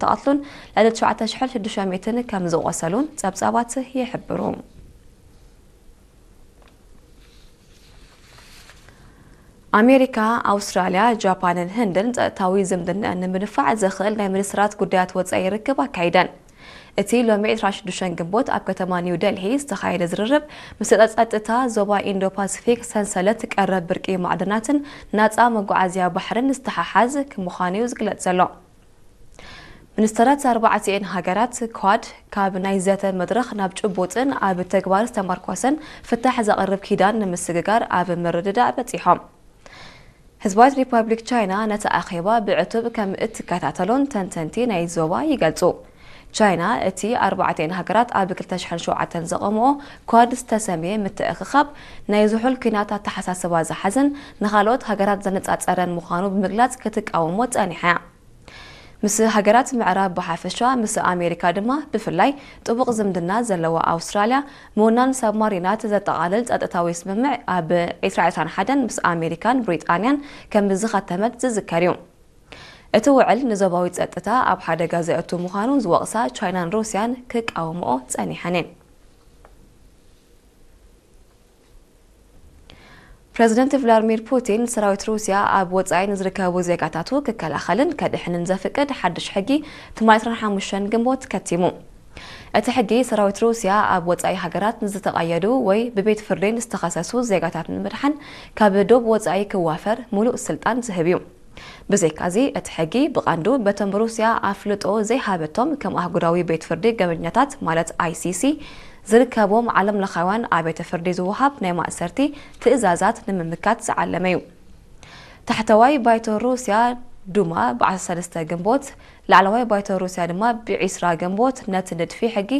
ዝተቐትሉን ልዕሊ ትሽዓተ ሽሕን ሽዱሽተ ሚእትን ከም ዝቖሰሉን ጸብጻባት ይሕብሩ። ኣሜሪካ፣ ኣውስትራልያ፣ ጃፓንን ህንድን ጸጥታዊ ዝምድናኣን ንምድንፋዕ ዘኽእል ናይ ሚኒስትራት ጉዳያት ወጻኢ ርክብ ኣካይደን። እቲ ሎሚ ዕስራን ሽዱሽተን ግንቦት ኣብ ከተማ ኒው ደልሂ ዝተኻየደ ዝርርብ፣ ምስ ጸጥታ ዞባ ኢንዶ ፓሲፊክ ሰንሰለት ቀረብ ብርቂ ማዕድናትን ናጻ መጓዓዝያ ባሕርን ዝተሓሓዝ ምዃኑ እዩ ዝግለጽ ዘሎ። ሚኒስተራት ኣርባዕቲኤን ሃገራት ኳድ ካብ ናይ ዘተ መድረኽ ናብ ጭቡጥን ኣብ ተግባር ዝተመርኮሰን ፍታሕ ዘቕርብ ኪዳን ንምስግጋር ኣብ ምርድዳእ በጺሖም። ህዝባዊት ሪፓብሊክ ቻይና ነቲ ኣኼባ ብዕቱብ ከም እትከታተሎን ተንተንቲ ናይ ዞባ ይገልጹ። ቻይና እቲ ኣርባዕቲኤን ሃገራት ኣብ ክልተ ሽሕን ሸውዓተን ዘቐምኦ ኳድ ዝተሰምየ ምትእኽኻብ ናይ ዝሑል ኲናት ኣተሓሳስባ ዝሓዘን ንኻልኦት ሃገራት ዘነጻጸረን ምዃኑ ብምግላጽ ክትቃወሞ ጸኒሓ እያ። ምስ ሃገራት ምዕራብ ብሓፈሻ፣ ምስ ኣሜሪካ ድማ ብፍላይ ጥቡቕ ዝምድና ዘለዋ ኣውስትራልያ፣ ምውናን ሳብማሪናት ዘጠቓልል ጸጥታዊ ስምምዕ ኣብ ዕስራ ዕስራን ሓደን ምስ ኣሜሪካን ብሪጣንያን ከም ዝኸተመት ዝዝከር እዩ። እቲ ውዕል ንዞባዊ ጸጥታ ኣብ ሓደጋ ዘእቱ ምዃኑ ዝወቕሳ ቻይናን ሩስያን ክቃወምኦ ጸኒሐን እየን። ፕረዚደንት ቭላድሚር ፑቲን፣ ሰራዊት ሩስያ ኣብ ወጻኢ ንዝርከቡ ዜጋታቱ ክከላኸልን ከድሕንን ዘፍቅድ ሓድሽ ሕጊ ትማሊ ዕስራን ሓሙሽተን ግንቦት ከቲሙ። እቲ ሕጊ፣ ሰራዊት ሩስያ ኣብ ወጻኢ ሃገራት ንዝተቐየዱ ወይ ብቤት ፍርዲ ንዝተኸሰሱ ዜጋታት ንምድሓን ካብ ዶብ ወጻኢ ክዋፈር ምሉእ ስልጣን ዝህብ እዩ። ብዘይካዚ፣ እቲ ሕጊ ብቐንዱ በቶም ሩስያ ኣፍልጦ ዘይሃበቶም ከም ኣህጉራዊ ቤት ፍርዲ ገበኛታት ማለት ኣይሲሲ ዝርከቦም ዓለም ለኻውያን ኣብያተ ፍርዲ ዝወሃብ ናይ ማእሰርቲ ትእዛዛት ንምምካት ዝዓለመ እዩ። ታሕተዋይ ባይቶ ሩስያ ዱማ ብ ዓሰርተ ሰለስተ ግንቦት፣ ላዕለዋይ ባይቶ ሩስያ ድማ ብ ዕስራ ግንቦት ነቲ ንድፊ ሕጊ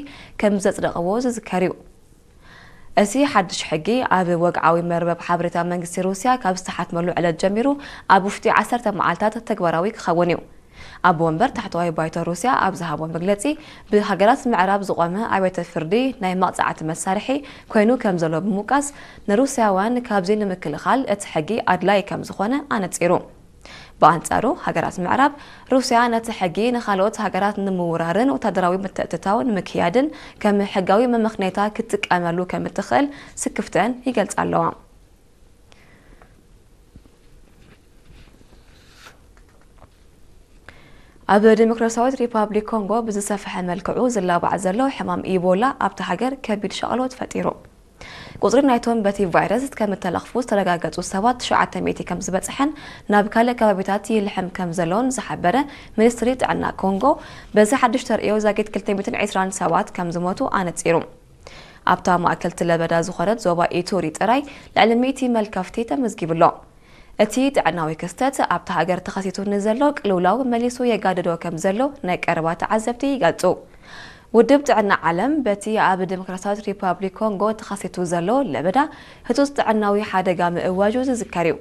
ከም ዘጽደቕዎ ዝዝከር እዩ። እዚ ሓድሽ ሕጊ ኣብ ወግዓዊ መርበብ ሓበሬታ መንግስቲ ሩስያ ካብ ዝተሓትመሉ ዕለት ጀሚሩ ኣብ ውሽጢ ዓሰርተ መዓልታት ተግባራዊ ክኸውን እዩ። ኣቦ ወንበር ታሕተዋይ ባይቶ ሩስያ ኣብ ዝሃቦ መግለጺ፣ ብሃገራት ምዕራብ ዝቖመ ኣብያተ ፍርዲ ናይ መቕጻዕቲ መሳርሒ ኮይኑ ከም ዘሎ ብምውቃስ፣ ንሩስያውያን ካብዚ ንምክልኻል እቲ ሕጊ ኣድላዪ ከም ዝኾነ ኣነጺሩ። ብኣንጻሩ፣ ሃገራት ምዕራብ፣ ሩስያ ነቲ ሕጊ ንኻልኦት ሃገራት ንምውራርን ወታደራዊ ምትእትታው ንምክያድን ከም ሕጋዊ መመኽነይታ ክትጥቀመሉ ከም እትኽእል ስክፍተን ይገልጻ ኣለዋ። ኣብ ዲሞክራሲያዊት ሪፓብሊክ ኮንጎ ብዝሰፍሐ መልክዑ ዝላባዕ ዘሎ ሕማም ኢቦላ ኣብታ ሃገር ከቢድ ሻቕሎት ፈጢሩ። ቁጽሪ ናይቶም በቲ ቫይረስ ከም እተለኽፉ ዝተረጋገጹ ሰባት ትሽዓተ ሚእቲ ከም ዝበጽሐን ናብ ካልእ ከባቢታት ይልሕም ከም ዘሎን ዝሓበረ ሚኒስትሪ ጥዕና ኮንጎ፣ በዚ ሓድሽ ተርእዮ ዛጊት ክልተ ሚእትን ዕስራን ሰባት ከም ዝሞቱ ኣነጺሩ። ኣብታ ማእከልቲ ለበዳ ዝኾነት ዞባ ኢቱሪ ጥራይ ልዕሊ ሚእቲ መልከፍቲ ተመዝጊቡ ኣሎ። እቲ ጥዕናዊ ክስተት ኣብታ ሃገር ተኸሲቱ ንዘሎ ቅልውላው መሊሱ የጋድዶ ከም ዘሎ ናይ ቀረባ ተዓዘብቲ ይገልጹ። ውድብ ጥዕና ዓለም በቲ ኣብ ዲሞክራሲያዊት ሪፓብሊክ ኮንጎ ተኸሲቱ ዘሎ ለበዳ ህጹጽ ጥዕናዊ ሓደጋ ምእዋጁ ዝዝከር እዩ።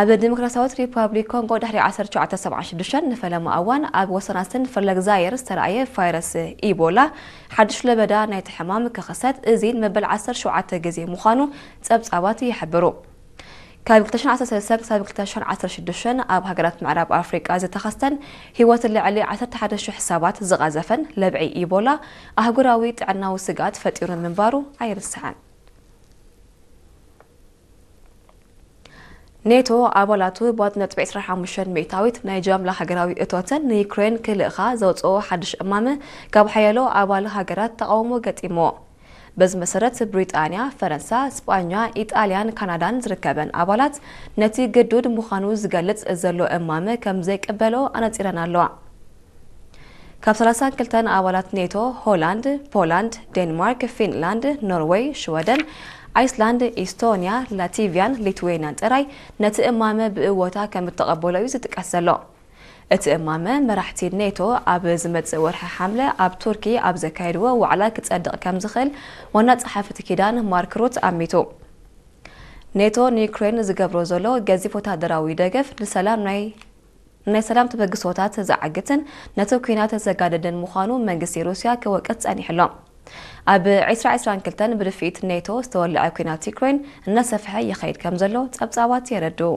ኣብ ዲሞክራሲያዊት ሪፓብሊክ ኮንጎ ድሕሪ ዓሰርተ ትሽዓተ ሰብዓን ሽዱሽተን ንፈለማ እዋን ኣብ ወሰናስን ፍርለግዛየር ዝተረኣየ ቫይረስ ኢቦላ ሓድሽ ለበዳ ናይቲ ሕማም ክኽሰት እዚ መበል ዓሰርተ ሸውዓተ ግዜ ምዃኑ ጸብጻባት ይሕብሩ። ካብ ክልተ ሽሕን ዓሰርተ ሰለስተን ክሳብ ክልተ ሽሕን ዓሰርተ ሽዱሽተን ኣብ ሃገራት ምዕራብ ኣፍሪቃ ዝተኸስተን ህይወት ልዕሊ ዓሰርተ ሓደ ሽሕ ሰባት ዝቐዘፈን ለብዒ ኢቦላ ኣህጉራዊ ጥዕናዊ ስግኣት ፈጢሩ ምንባሩ ኣይርስዕን። ኔቶ ኣባላቱ ብ ነጥቢ ዕስራን ሓሙሽተን ሚእታዊት ናይ ጃምላ ሃገራዊ እቶተን ንዩክሬን ክልእኻ ዘውፅኦ ሓድሽ እማመ ካብ ሓያሎ ኣባል ሃገራት ተቓውሞ ገጢምዎ። በዚ መሰረት ብሪጣንያ፣ ፈረንሳ፣ ስጳኛ፣ ኢጣልያን ካናዳን ዝርከበን ኣባላት ነቲ ግዱድ ምዃኑ ዝገልጽ ዘሎ እማመ ከም ዘይቅበሎ ኣነጺረን ኣለዋ። ካብ ሰላሳን ክልተን ኣባላት ኔቶ፣ ሆላንድ፣ ፖላንድ፣ ዴንማርክ፣ ፊንላንድ፣ ኖርወይ፣ ሽወደን፣ ኣይስላንድ፣ ኢስቶንያ፣ ላቲቪያን ሊትዌንያን ጥራይ ነቲ እማመ ብእወታ ከም እተቐበሎ እዩ ዝጥቀስ ዘሎ። እቲ እማመ፣ መራሕቲ ኔቶ ኣብ ዝመጽእ ወርሒ ሓምለ ኣብ ቱርኪ ኣብ ዘካየድዎ ዋዕላ ክጸድቕ ከም ዝኽእል ዋና ጸሓፊ እቲ ኪዳን ማርክ ሩት ኣሚቱ። ኔቶ ንዩክሬን ዝገብሮ ዘሎ ገዚፍ ወታደራዊ ደገፍ ንሰላም ናይ ናይ ሰላም ተበግሶታት ዘዓግትን ነቲ ኲናት ዘጋድድን ምዃኑ መንግስቲ ሩስያ ክወቅስ ጸኒሑ ኣሎ። ኣብ ዕስራ ዕስራን ክልተን ብድፍኢት ኔቶ ዝተወልዐ ኲናት ዩክሬን እናሰፍሐ ይኸይድ ከም ዘሎ ጸብጻባት የረድኡ።